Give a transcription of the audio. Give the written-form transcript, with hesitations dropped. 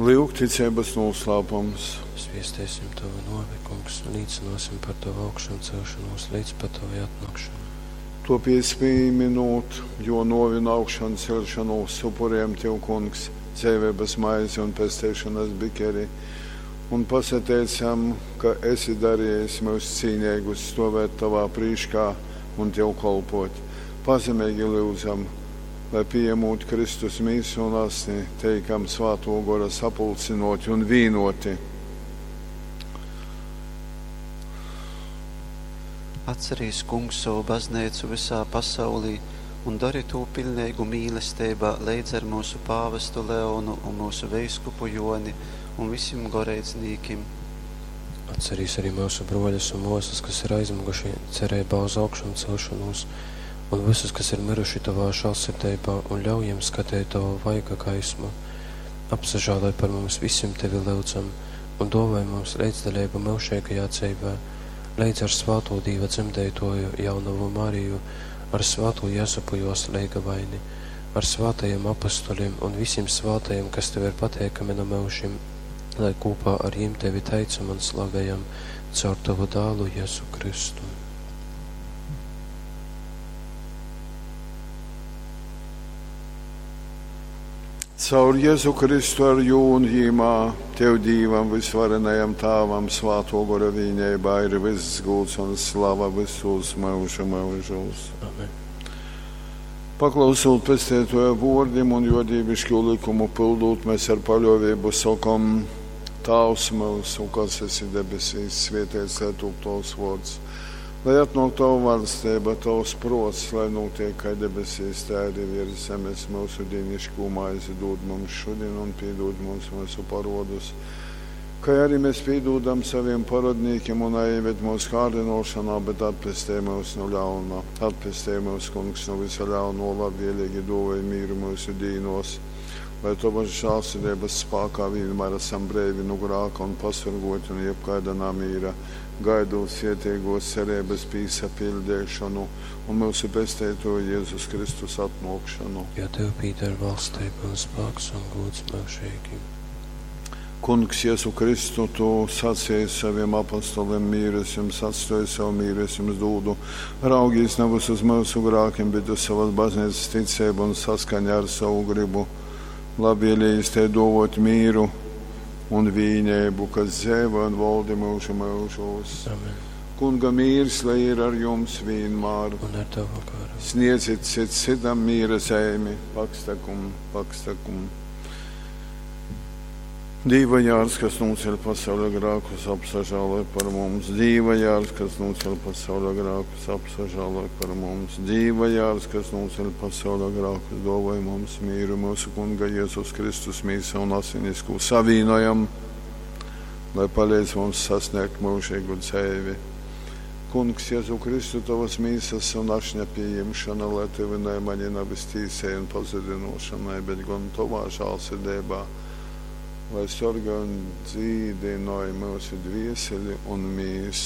Lyuk, ticeibas nūslāpums. Zviesteisim Tovu nuovi, Kungs, un līcynuosim par Tovu augšanceļšonūs leidz pat Tovai atnuokšonai. Tuopiec pīminūt Juo nuovi un augšanceļšonūs, upurejam Tev, Kungs, dzeiveibas maizi un pesteišonas bikeri un pasateicam, ka esi darejis myus cīneigus stuovēt Tovā prīškā un Tev kolpuot. Pazemeigi lyudzam, lai, pījamūt Kristus mīsu un asni, teikam Svātuo Gora sapulcynuoti un vīnuoti. Atcerīs, Kungs, sovu bazneicu vysā pasaulī un dori tū piļneigu mīlesteibā leidz ar myusu pāvestu Leonu un myusu veiskupu Jōni un visim goreidznīkim. Atcerīs arī myusu bruoļus un muosys, kas ir aizmyguši cereibā uz augšamceļšonūs, un vysus, kas ir myruši Tovā žālsirdeibā, un ļauj jim skateit Tovu vaiga gaismu. Apsažāloj par mums visim, Tevi lyudzam, un duovoj mums leidzdaleibu myužeigajā dzeivē, leidz ar svātū Dīva dzemdeituoju jaunovu Mariju, ar svātū Jezupu juos leigavaini, ar svātajim apustulim un visim svātajim, kas Tev ir pateikami nu myužim, lai kūpā ar jim Tevi teicam un slavejam caur Tovu dālu Jezu Kristu. Caur Jezu Kristu ar jū un jīmā, Tev Dīvam vysvarenajam Tāvam svātuo Gora vīneibā ir vyss gūds un slava vysūs myužu myužūs. Amen. Paklausūt Pesteituoja vuordim un juo dīviškū lykumu pyldūt, mēs ar paļuoveibu sokom: Tāvs myusu, kas esi debesīs, svieteits lai tūp tovs vuords. Lai atnuok tova vaļsteiba, tovs pruots, lai nūtiek kai debesīs, tai arī viers zemes. Myusu dīniškū maizi dūd mums šudin un pīdūd mums myusu parodus, kai arī mēs pīdūdam saviem parodnīkim un neieved mūsu kārdinošanā, bet atpestej mūs no ļauna. Atpestej mūs, Kungs, no visa ļauno, labvēlīgi dāvāj mīru mūsu dīnos, lai Tavas žēlsirdības spākā vienmēr esam breivi no grāka un pasargoti no jebkaida namīra, gaidot sietīgos cerības pīsapildēšanu un mūsu pesteitoju Jēzus Kristus atnākšanu. Jo Tev pīder valstība un spāks un gūds myužīgi. Kungs, Jēzu Kristu, Tu sacīji saviem apostoliem, mīru es jums atstoju, savu mīru es jums dūdu. Raugīs nevis uz mūsu grākiem, bet uz savas baznīcas ticību un saskaņā ar savu gribu. Labvēlījis te dovot mīru un vīnību, kas dzēvo un valdi mūžu mūžos. Amen. Kunga mīrs, lai ir ar jums vienmēr. Un ar Tavu garu. Sniedziet cits citam mīra zeimi, pakstakum, pakstakum. Dīva jārs, kas noceļ pasaules grākus, apsažāloj par mums. Dīva jārs, kas noceļ pasaules grākus, apsažāloj par mums. Dīva jārs, kas noceļ pasaules grākus, dāvāj mums mīru mūsu Kunga Jēzus Kristus mīsa un asinisku savīnojam, lai palīdz mums sasniegt mūžīgu dzīvi. Kungs, Jēzu Kristu, tavas mīsas un ašņa pieņemšana, lai tevi mani nevis tīsai un pazudinošanai, bet gan tavā žālsirdībā, lai sargā un dzīdināja mūsu dvieseli un mīsu.